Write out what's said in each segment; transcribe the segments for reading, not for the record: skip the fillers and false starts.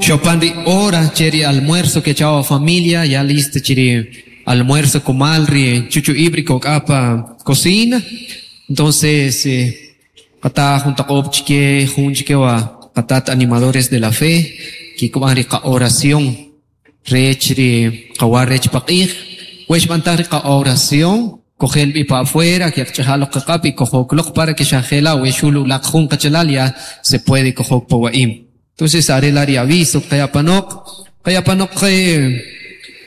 Xopan ri hora che ri almuerzo kecha' familia, ya listo chi ri almuerzo kumal ri chuchu'ib' ri kok'a pa cocina. Entonces, qata jun taq'ob' chike jun chike wa qatat animadores de la fe kikb'an ri qa-oración rech ri qawa rech paq'ij. We xb'antaj ri qa-oración, kojel b'i pa afuera, keqch'aja' loq qaq'ab' y kojok loq para que xa jela' we xul ulaq jun qachalal, ya se puede kojok pa wa'im. Entonces, are la ri aviso qayapanoq. Qayapanoq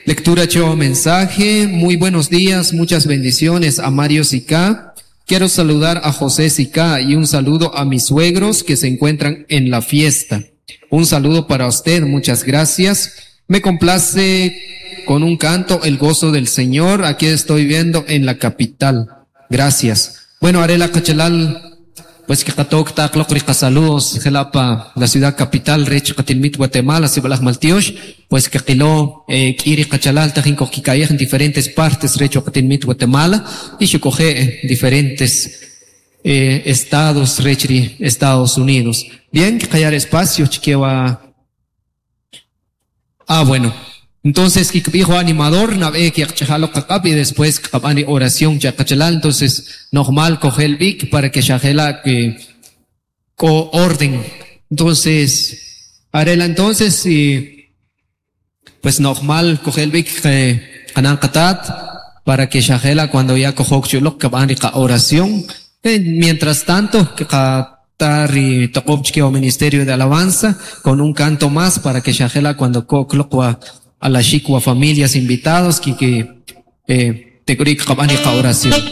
lectura cho mensaje. Muy buenos días, muchas bendiciones a Mario Sica. Quiero saludar a José Sica y un saludo a mis suegros que se encuentran en la fiesta. Un saludo para usted, muchas gracias. Me complace con un canto "El gozo del Señor". Aquí estoy viendo en la capital. Gracias. Bueno, are la qachalal, pues que qatok taq loq ri qasaludos jela' pa la ciudad capital rech qatinmit Guatemala, sib'alaj maltiox, pues que qilo k'i ri qachalal tajin kojkika'yej en diferentes partes rech qatinmit Guatemala y xuquje' diferentes estados rech ri Estados Unidos. Bien, qaya espacio chike wa. Ah, bueno. Entonces, kikb'ij animador, nab'e keqch'aja' loq qaq'ab' y después qab'an ri oración cha qachalal. Entonces, normal kojel b'ik para que xa jela' que ko orden. Entonces, are la entonces y pues normal kojel b'ik qanan qatat para que xa jela' cuando ya kojok chuloq qab'an ri oración. Mientras tanto, que ri toq'ob chike Ministerio de Alabanza con un canto más para que xa jela' cuando kok loq wa alaxik wa familias invitados que tek'uri' qab'an ri oración.